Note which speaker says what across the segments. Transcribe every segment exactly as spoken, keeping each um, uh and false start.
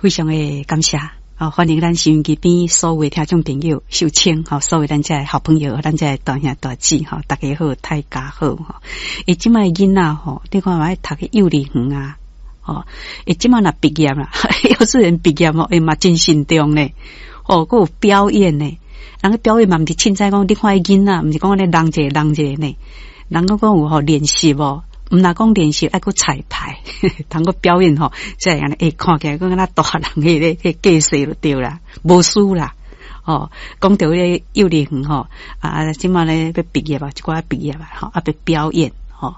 Speaker 1: 非常的感謝。哦，歡迎咱收音機邊所有聽眾朋友，秀清吼，所有咱遮的好朋友，咱遮的大兄大姊吼，大家好，大家好吼。欸，這擺囡仔吼，你看嘛愛讀去幼兒園啊，吼，欸，這擺若畢業啦，幼稚園畢業吼，欸嘛真慎重呢，哦，閣有表演呢。人個表演嘛，毋是凊彩講，你看彼囡仔，毋是講按呢人一個人一個呢，人閣講有吼練習無？毋若講練習，愛閣彩排，通閣表演吼，才會按呢，欸，看起來閣敢若大人彼个彼個架勢就對啦，無輸啦。哦，講著彼个幼兒園吼，啊，這擺咧欲畢業啊，一寡畢業啊，吼，啊，欲表演，吼，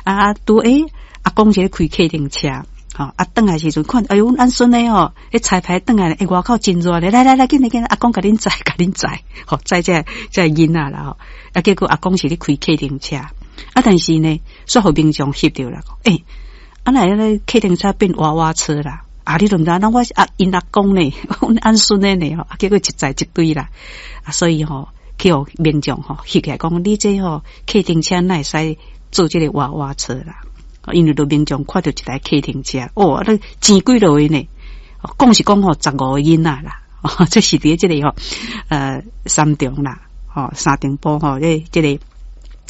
Speaker 1: 啊，拄欸，阿公是咧開客運車，吼，啊，轉來時陣看，哎喲，阮孫仔吼，彼彩排轉來，欸，外口真熱咧，來來來，緊來緊來，阿公共恁載，共恁載，吼，載這這囡仔啦，吼，啊，結果阿公是咧開客運車。啊，但是呢，煞予民眾翕著啦，欸，啊，哪會按呢客運車變娃娃車啦？啊，你都毋知，那我是阿𪜶阿公呢，阮按孫的呢，吼，啊，結果一載一堆啦，啊，所以吼，去予民眾吼翕起來講，你這吼客運車哪會使做這个娃娃車啦？因為都民眾看著一台客運車，哦，啊，錢幾落去呢？講是講吼十五個囡仔啦，哦，這是佇這個吼，呃，三重啦，吼，三重埔吼，這這個。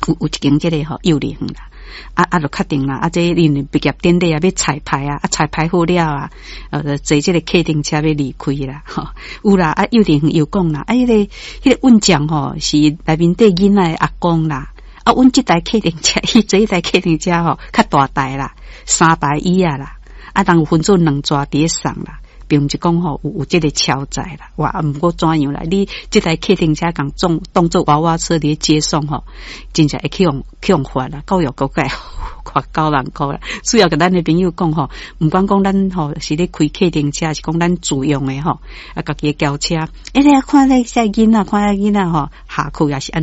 Speaker 1: 有有一間這個吼幼兒園啦，啊啊，就確定啦，啊，這因為畢業典禮啊，欲彩排啊，啊彩排好了啊，呃，坐這個客運車欲離開啦，吼，有啦，啊幼兒園又講啦，啊，彼個彼個運將吼是內面底囡仔的阿公啦，啊，阮這台客運車，伊坐這台客運車吼較大台啦，三排椅仔啦，啊，人有分做兩逝佇咧送啦。並毋是講吼有有這個超載啦，哇！毋過怎樣啦？你這台客運車共當當做娃娃車佇咧接送吼，真正會去予去予罰啦，教育局會罰九萬箍啦。主要共咱的朋友講吼，毋管講咱吼是咧開客運車，是講咱自用的吼，啊，家己的轎車，欸，你看咧這囡仔，看這囡仔吼，下課也是按。